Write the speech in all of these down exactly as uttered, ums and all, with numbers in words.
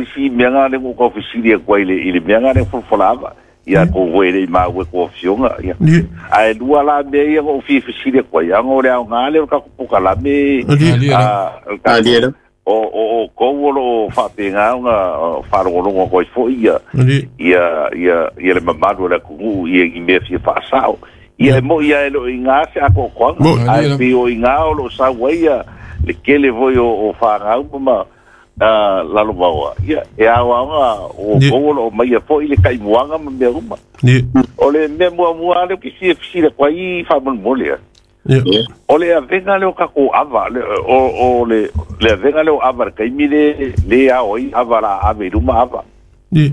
le si mea ngā le ngo kau fesili e kua i le, i le mea ngā le folafola ava. Ia ko voe le i maua ko fionga ia. Ai lua la mea ia ngo fi fesili e kua ia ngo le au ngā le o ka kupuka la me a o o o ko lo fa penga nga fa lo lo ko fo ia ia ia ia le mamalu le ku ia i me fi fa sao ia mo ia lo inga se ako ko ai pi o inga o lo sa ia le kele voi o fa ngau ma la lo bawa ia e awa nga o ko lo mai fo ile kai muanga ma me uma o le me mua mua le ki si si le kwai fa mo mo le o le avenga le o kako ava le o o le le avenga le o ava kai mi le le a oi ava la ave luma ava ni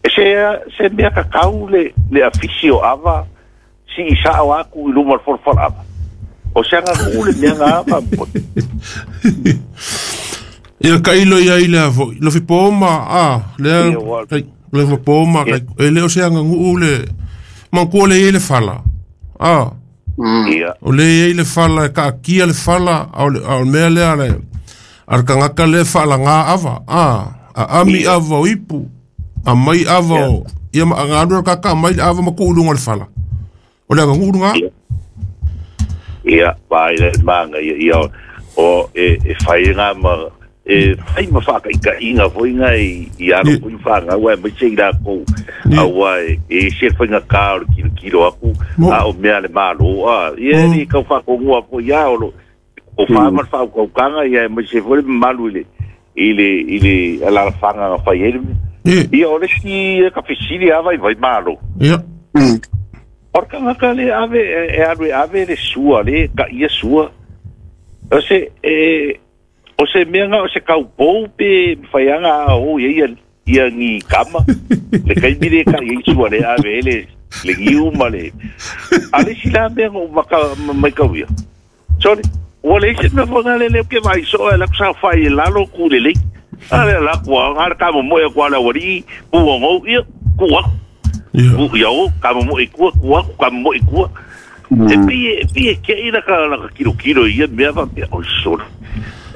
se se mea ka kau le le afisio ava si isa o aku i luma for for ava o se nga ku le mea nga ava ia kailo ia ile avo lo fi poma a le le fi poma kai le o se nga ngu le manku le ile fala a ia o le ile fala ka kia le fala o o mea le ale ar kangaka le fala nga ava a a ami ava o ipu a mai ava o ia ma nga ka ka mai ava ma ku lunga le fala o le nga lunga ia vai le manga ia ia o e e fai nga ma e fai ma fa ka inga foi nga i aro ku fa nga wa me sei la ko a wa e se foi nga ka o kilo kilo aku a o mea le malo a ia ni ka fa ko ngua ko ia o o fa ma fa ko kanga ia me se foi malu ile ile ile ala fa nga fa ele ia o le si ka fisili a vai vai malo ia o ka nga le ave e ave ave le sua le ka ia sua o se e o se mea nga o se kaupou pe whaianga o ia ia ia ngi kama le kaimire ka ia isua le ave le le ngiu ma le ale sila mea ngo maka mai kau ia sorry o le isi mea whanga le le ke vai so e la kusa whai e lalo ku le le ale la kua ngara ka mo e kua la wari ku ngo ia ku aku ku ia o ka mo e kua ku aku ka mo e kua e pi e pi e ke ina ka la kilo kilo ia mea va pia o sorry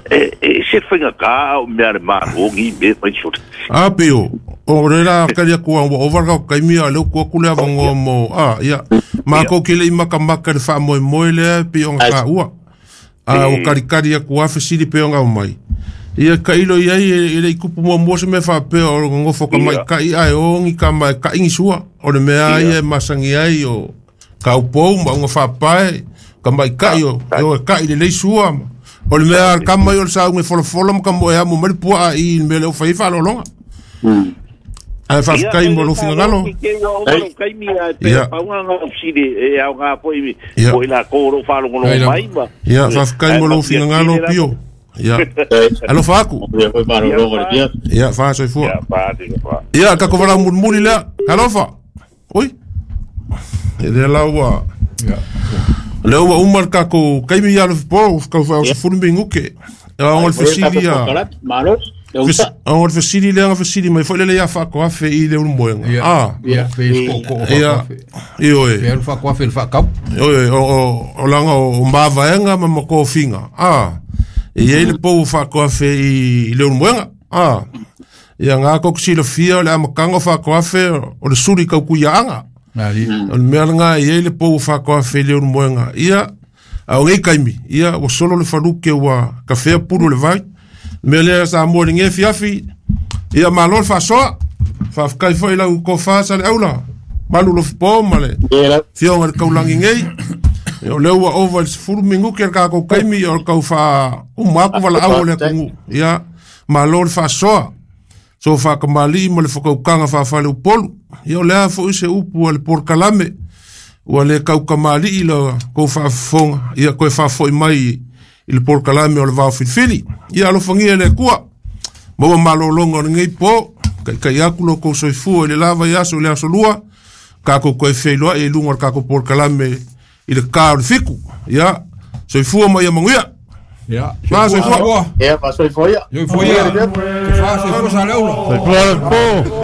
e e se fenga ka o mea le malo ngi me fai so a pio o le la kalia ku o over ka kai mia le ku ku le avango mo a ia ma ko kele maka maka le fa mo mo le pio ka ua a o kari kari ku a fesili pio nga mai ia kailo ia e le kupu mo mo se me fa pe o ngo fo ka mai kai ai o ngi ka mai ka ngi sua o le mea ia masangi ai o ka upo ma ngo fa pae ka mai kai o o kai le sua o le mea ka mai o sa ngi folo folo mo ka mo e mo mali pua i me le o fai fa longa ai fa kai mo lo fingalo kai mi a pe pa nga nga sile e au nga po i po ila ko ro fa longo mai ma ia fa kai mo lo fingalo pio ia alo fa ku ia fa so fu ia ka ko vala murmuri la alo fa oi e de la ua ia le ua umar ka ko kai mi alo po ka fa o furu minguke a ngol fesili ia a ngol fesili le nga fesili mai foi le ia fa ko afe i le ulmoenga ah ia fe ko ko ia io e ia fa ko afe fa kau io o o langa o mbava enga ma ko finga ah e ia le po fa ko afe i le ulmoenga ah ia nga ko xilofia le amakanga fa ko afe o le suri ka ku ia anga o le mea nga ia le po fa ko afe le ulmoenga ia a o kaimi ia o solo le faluke ua kafea pulu le vai me le sa mo le fiafi ia malo fa so fa kai foi la ko fa sa le aula malu lo po male fionga ka ulangi ngei o le ua over furu mingu ke ka ko kaimi o ka fa uma ku wala au le ku ia malo fa so so fa kamali mo le fokaukaga faafale upolu ia o le a foʻi se upu a le polokalame ua le kaukamaliʻi la kou faafofoga ia koe faafoʻi mai i le polokalame o le vaofilifili ia alofagia le Akua maua malōlōga o lenei po kaikai aku lo kou soifua i le lava i aso i le aso lua kakou koe feiloaʻi i luga o le kakou polokalame i le kā o le fiku ia soifua ma ia manuia. Ya. Soifua. Ya, soifua. Soifua. Soifua sa leula. Soifua.